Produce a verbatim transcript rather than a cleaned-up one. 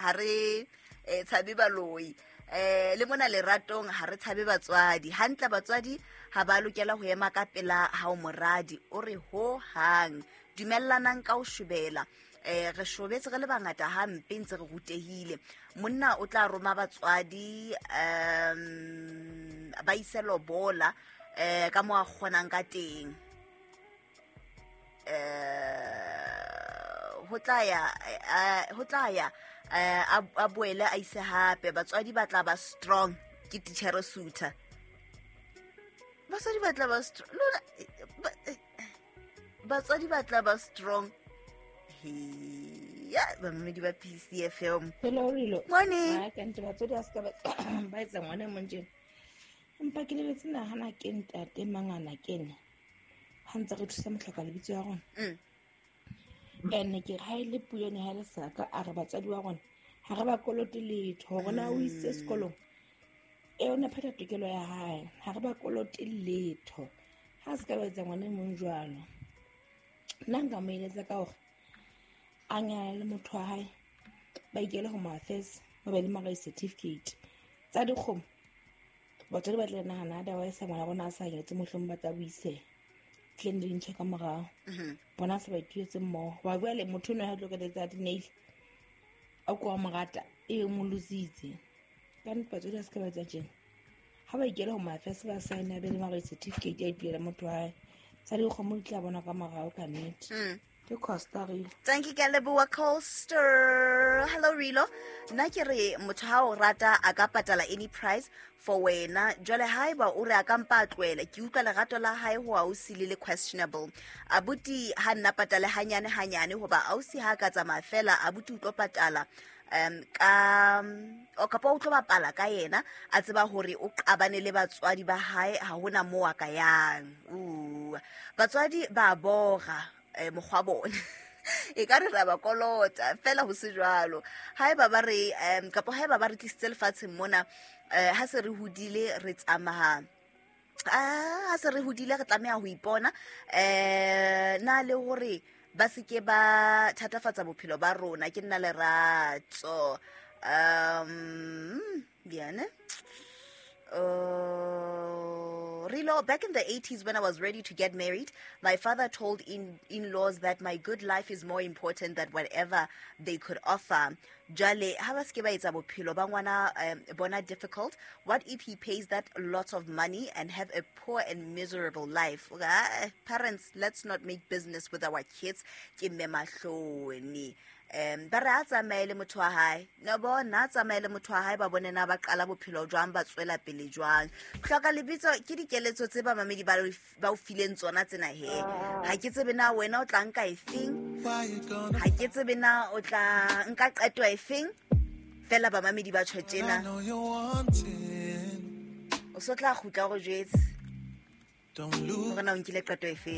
ha re eh, tshabe baloi. Eh le mona leratong ha re tshabe batswadi. Hantle batswadi ha ba lokela ho ema ka pela ha o moradi, o re ho hang. Dumellanang ka ho shobela. Eh re shobetse re le bangata hampe ntse re rutehile. Monna o tla roma batswadi um ba ise lobola eh ka mo a kgonang ka teng. Eh ho tla ya ho tla ya a boele a ise hape batswadi ba tla ba strong ke teacher Suter. Batswadi ba tla ba strong lona batswadi ba tla ba strong. Ya bamamedi ba P C F M. Hello Rilo. Morning. Ha ka ntse batswadi a ska ba ba etsa ngwana mong tjena. Empa ke lebetse nahana ke ntate mangana kene. Ha ntse re thusa mohloka lebitso ya rona. Mm. Ene ke ha ile puo ne ha le saka a re batswadi wa rona ha re ba kolote letho hore na o itse sekolong. E ona phetha tokelo ya hae ha re ba kolote letho. Ha se ka ba etsa ngwana mong jwalo. Nna nka mo eletsa ka hore a nyala le motho wa hae ba ikele ho mafes ba be le marriage certificate tsa dikgomo. Batswadi ba tla nahana otherwise ngwana bona a sa nyetse mohlomong ba tla buise tleng le dintho ka morao. Bona se ba ituetse mmoho wa bua le motho ono ha tlo ka tsa di-nail a kwa morata e mo lositse ka nnete. Batswadi ba se ka ba etsa tjena ha ba ikele ho mafes ba sign a be le marriage certificate ya ituela motho wa hae tsa dikgomo di tla bona ka morao ka nnete. Ke Costa Rilo. Thank you, Galeboa Coaster. Hello Rilo. Nna ke re motho ha o rata a ka patala any price for wena. Jwale haeba o re a ka mpa a tlohela, ke utlwa lerato la hae ho ausi le le questionable. Abuti ha nna patale hanyane hanyane hoba ausi ha ka tsamaya fela abuti o tlo patala um ka o kapa o tlo bapala ka yena a tseba hore o qabane le batswadi ba hae ha hona moo a ka yang. Uh batswadi ba bora eh mokgwa bona e ka re ra ba kolota fela ho se jwalo. Haeba ba re um kapa haeba ba re tlisitse lefatsheng mona eh ha se re hodile re tsamaya ah ha se re hodile re tlameha ho ipona eh na le hore ba se ke ba thatafatsa bophelo ba rona. Ke nna Lerato. Um bien. Uh, Rilo, back in the eighties when I was ready to get married, my father told in, in-laws that my good life is more important than whatever they could offer. Jwale, ha ba se ke ba etsa bophelo ba ngwana um, bona difficult? What if he pays that lot of money and have a poor and miserable life? Ah, parents, let's not make business with our kids. Ke mme mahloni. Um ba re a tsamaye le motho wa hae no bona a tsamaye le motho wa hae ba bone na ba qala bophelo jwang ba tswela pele jwang. Hloka lebitso ke dikeletso tse ba mamedi ba ba o fileng tsona tsena he. Ha ke tsebe na wena o tla nka efeng, ha ke tsebe na o tla nka qeto efeng, fela ba mamedi ba tjho tjena o so tla kgutla go jwetse hore na o nkile qeto efeng.